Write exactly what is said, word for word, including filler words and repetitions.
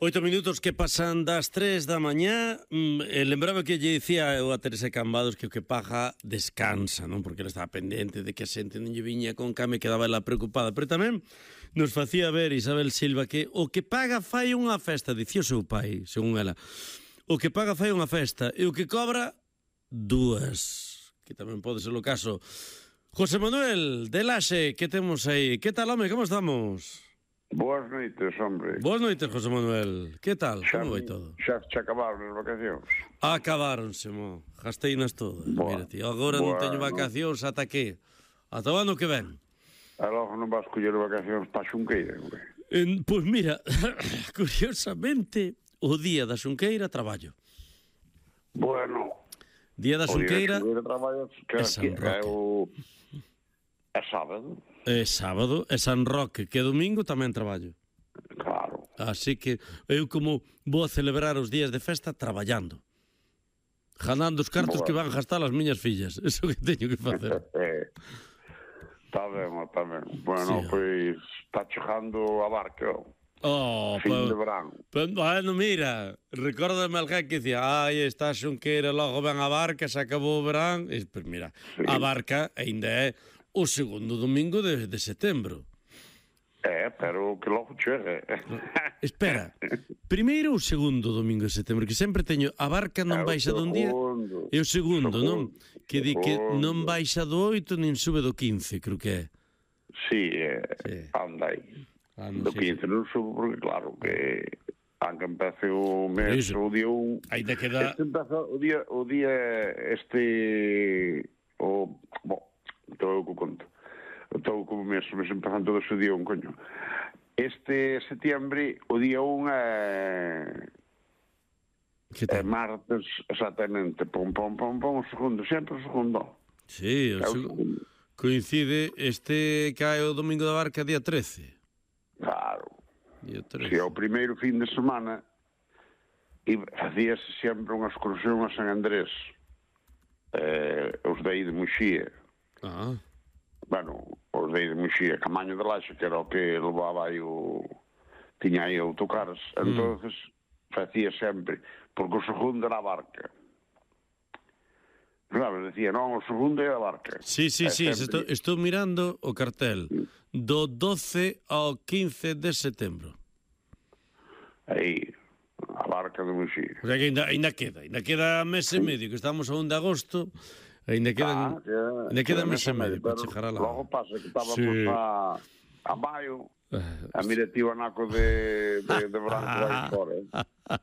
Oito minutos que pasan das tres da mañá. eh, Lembraba que lle dicía eu a Teresa Cambados que o que paga descansa, non? Porque ela estaba pendente de que a xente non lle viña con came, quedaba ela preocupada. Pero tamén nos facía ver Isabel Silva que o que paga fai unha festa, dicía o seu pai, según ela. O que paga fai unha festa e o que cobra, dúas. Que tamén pode ser o caso. José Manuel de Laxe, que temos aí? Que tal, home? Como estamos? Boas noites, hombre. Boas noites, José Manuel. Que tal? Xa, Como vai todo? xa, xa acabaron as vacacións. Acabaronse, mo. Gasteinas todas. Boa. Mira, tío, agora non Boa, teño vacacións ata que? Ata o ano que ven. E logo non vas coller vacacións para Xunqueira, hombre. En, pois mira, curiosamente, o día da Xunqueira traballo. Bueno, Día da o día Xunqueira de traballo que é San que Roque. é o é sábado, é sábado, é San Roque, que é domingo tamén traballo. claro. Así que eu como vou a celebrar os días de festa traballando. Ganando os cartos Boa. que van gastar as miñas fillas. Eso que teño que facer. Eh, Está ben, está ben. Bueno, Sí, pois está chegando a barca, Oh, fin pa... de verán. pa... Bueno, mira, recórdame alguén que dicía, ai, está a Xunqueira, logo ven a barca, se acabou o verán. E, pues mira, Sí. a barca ainda é o segundo domingo de, de setembro. É, pero que logo chegue. Espera, primeiro ou segundo domingo de setembro, que sempre teño, a barca non É o baixa dun día, segundo. e o segundo, non? Segundo. Que di que non Segundo. baixa do oito nin sube do quince, creo que é. Sí, é, Sí. anda aí. Ah, non Do sei. quince non subo porque claro que aunque empece o Por mes iso. o día un Ainda queda... este empeza o día o día este o bo, todo o que conto todo como mes, mes empezando todo o día un coño este setiembre o día un é Que é tal? martes exactamente pom pom pom pom o segundo, sempre o segundo Sí, o é o seg- segundo. coincide, este cae o domingo da barca día trece. Claro. Día Si trece. ao primeiro fin de semana e facíase sempre unha excursión a San Andrés, eh, os de aí de Muxía, Ah, bueno, os de aí de Muxía, Camaño de Laxe, que era o que levaba aí o... tiña aí autocares, Mm. entonces facía sempre, porque o segundo era a barca. Sabes, decía, non, o segundo é a barca. sí, sí, E sí, sempre- estou, estou mirando o cartel do doce ao quince de setembro. Aí, a barca de Muxía. O sea que ainda, ainda queda, ainda queda mes e medio, que estamos a un de agosto, ainda quedan, Ah, que- ainda queda que mes e medio para pero chegar a la... Logo pasa que estábamos Sí. a, a maio, Ah, a mira tío anaco de, de, de branco vai fora. Eh?